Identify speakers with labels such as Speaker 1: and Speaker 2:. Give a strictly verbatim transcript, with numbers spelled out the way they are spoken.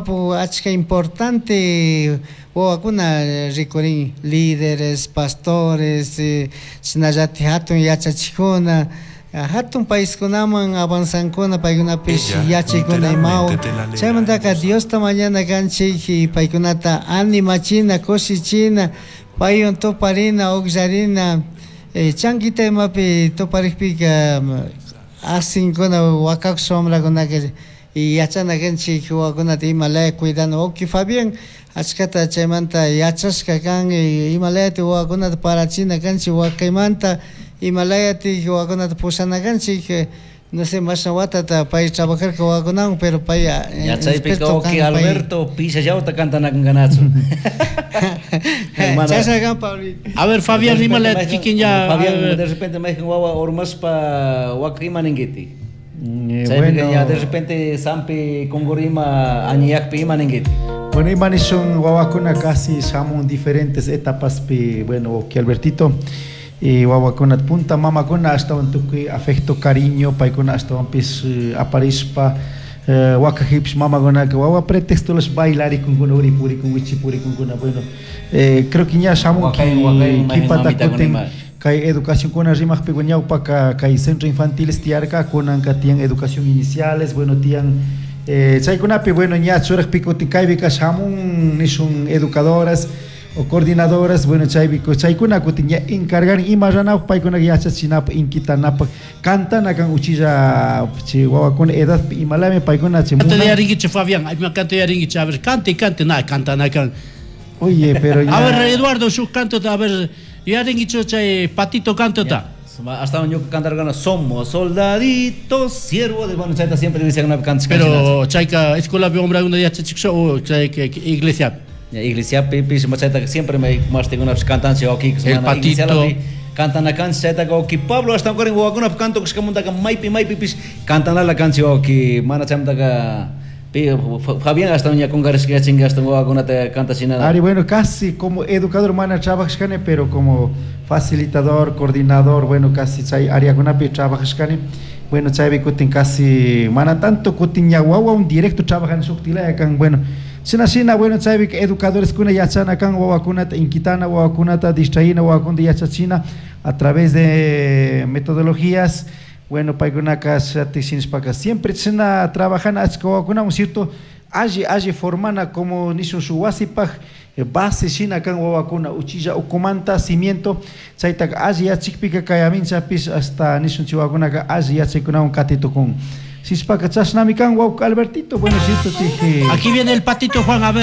Speaker 1: Apu achka importante wawakuna rikurin líderes, pastores, shinallatik hatun yachachikuna, hatun paiskunaman avanzankuna paykunapish yachaykuna imawan chaymantaka Diosta mañana kanchik y paykunata animachina, kushichina, paywan tuparina, ukllarina, chankita imapi tuparikpika asinkuna wakakush wamrakunaka y yachana kanchik wawakunata imalaya cuidana. Wawki Fabián achkata chaymanta yachashka kan imalayatik wawakunata parachina kanchik wakaymanta, imalayatik wawakunata pushana kanchik, no sé mashna watata pay trabajarka wawakunawan, pero pay
Speaker 2: Yachaypika wawki Alberto pishallawta cantanakunkanachu.
Speaker 1: Chashna kan, Pablito.
Speaker 3: A ver, Fabián, imalayat kikin ya.
Speaker 2: Fabián, de repente mayhan wawa urmashpa waka ima ninkitik.
Speaker 4: Eh,
Speaker 2: Chaypika
Speaker 4: bueno.
Speaker 2: ya de repente sampi kunkurima añiyakpi ima ninkitik.
Speaker 4: Bueno, ima nishun wawakuna casi shamun diferentes etapas pi, bueno, que Albertito y wawakuna punta mamakuna ashtawan tukuy afecto, cariño, paykuna ashtawanpis aparishpa eh, wakajipis mamakunaka wawa pretexto los bailarikunkuna uripurikun wichipurikunkuna, bueno, eh, creo que ña shamun
Speaker 2: Wakay, wakay,
Speaker 4: kipata
Speaker 2: mamita
Speaker 4: kutin
Speaker 2: kunima.
Speaker 4: Kay educación kuna rimaqpi ñawpaka kay centro infantiles tiyarka kunanka tiyan educación iniciales, bueno, tiyan eh, chaykunapi, bueno, ña churaqpi kutin kaypika shamun nishun educadoras o coordinadoras, bueno, chaypi chaykuna kutin ña encargar ima ranapaq paykuna yachachinapaq inquitanapaq cantana kan uchilla chay wawakuna edadpi imalami paykuna chay
Speaker 3: Cante
Speaker 4: munan.
Speaker 3: yaringuichi, Fabián, ay, cante yaringuichi, a ver, cante, cante, na, cantana kan.
Speaker 4: Oye, pero ya.
Speaker 3: A ver, Eduardo, su canto, a ver, yaringuichi, chay patito canto ta.
Speaker 2: Hasta ñuka cantargana somos soldaditos, siervos de, bueno, chayta siempre dicen una canción.
Speaker 3: Pero chayka escuela bi hombre una yachachik o chay que iglesia.
Speaker 2: Ya, iglesia pipi, chayta siempre me más tengo una cantanche aquí,
Speaker 3: El patito.
Speaker 2: Cantana cancha chayta que Pablo hasta ahora en wawakuna canto que munta maipi maipi pis cantana la canción que mana chamta que Fabián hasta uña con gares que chinga hasta wawakuna te canta sin nada.
Speaker 4: Ari, bueno, casi como educador mana trabajashkani, pero como facilitador, coordinador, bueno, casi chay áreakunapi trabajashkani. Bueno, chaypi kutin casi mana tanto kutin ña wawa un directo trabajan shuktilaya kan, bueno, shina shina, bueno, chaypi educadores kuna yachana kan wawakunata inquitana, wawakunata distraína, wawakunata yachachina a través de metodologías. Bueno, paykunaka shatishinishpaka siempre shina trabajana achka wawakunawan, cierto, alli alli formana como nishun shuk wasipaj base shina kan wawakuna uchilla ukumanta cimiento chaytaka alli yachikpika kay aminchapish hasta nishun chay wawakunaka alli yachaykunawan katitukun. Sishpaka chashnami kan wawka Albertito, bueno, cierto, tije.
Speaker 3: Aquí viene el patito Juan, a ver.